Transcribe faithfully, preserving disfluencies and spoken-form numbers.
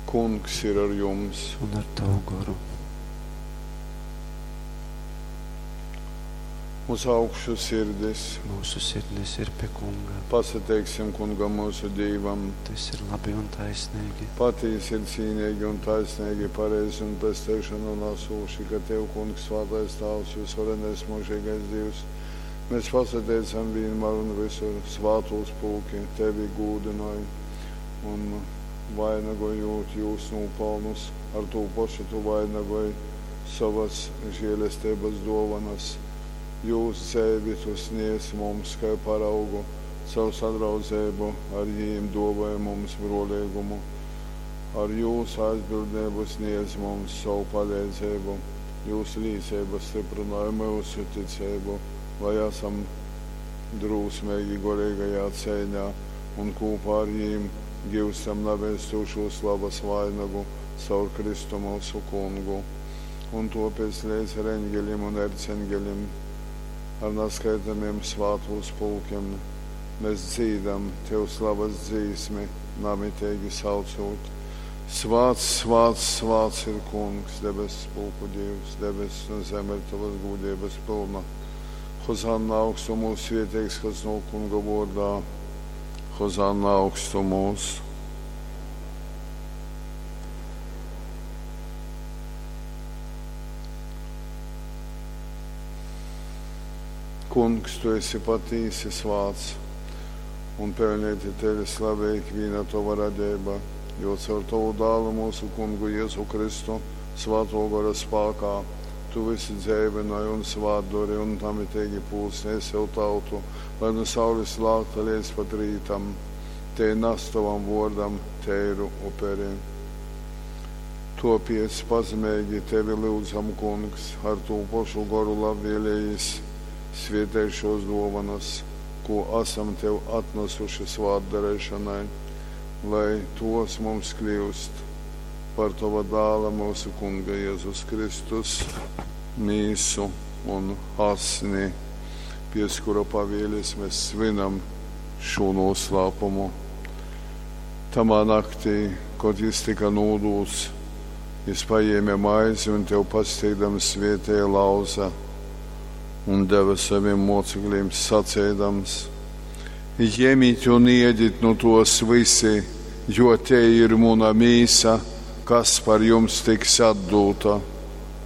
Kungs ir ar jums! Un ar tavu goru. Uz augšu sirdis! Mūsu sirdis ir pie Kunga. Pasateiksim Kungam mūsu Dīvam! Tas ir labi un taisnīgi. Patīsi ir cīnīgi un taisnīgi, pareizi un pesteišanu nesūši, ka Tev, Kungs, svētais Tāvs, visvarenais mūžīgais Dievs, mēs pasateicam vienmēr un visur svātūs pulki, Tevi gūdināj un vainagojot jūs nopelnus, ar to pašu tu vainagoj savas žēlestības dovanas. Jūs dzēvi tu sniedz mums kā paraugu, savu sadraudzību ar jīm dāvāja mums brolīgumu. Ar jūsu aizbildnību sniedz mums savu palīdzību, jūsu līdzība stiprināja mūsu ticību, lai esam drūsmīgi gorīgajā cīņā un kopā ar jīm gūstam nevēstošo slavas vainagu caur Kristu mūsu kungu. Un tāpēc līdz ar eņģeļiem un erceņģeļiem, ar neskaitāmiem svātūs pulkiem, mēs dzīdam Tev slavas dzīsmi, namitīgi saucot. Svāts, svāts, svāts ir Kungs, debesu pulku Dievs, debesis un zeme ir Tavas gūdības pilna. Hozanna augstumos svētīgs, kas no Kunga vārdā. Hozanna augstumos. Kungs, tu esi patīsi svāts un pelnīti tevi slavē ikviena tava radība, jo caur tavu dālu mūsu kungu Jēzu Kristu svāto gara spākā tu visu dzēvināji un svātdori un namitīgi pulsnies sev tautu, lai no saules lākta līdz pat rītam, te nes tavam vārdam teiru uperi. Topiec pazemīgi tevi lūdzam, Kungs, ar to pašu goru labvēlējis svietēšos dovanas, ko esam tev atnesuši svātdarīšanai, lai tos mums kļūst par tava dāla mūsu Kunga Jēzus Kristus mīsu un asni, pies kura pavēles mēs svinam šo noslēpumu. Tamā naktī, kad jis tika nūdūts, jis paēma maizi un tev pasteigdams svietēja lauza un deva saviem mocekļiem sacēdams: Ņemiet un ēdiet no tos visi, jo te ir muna mīsa, kas par jums tiks atdūta.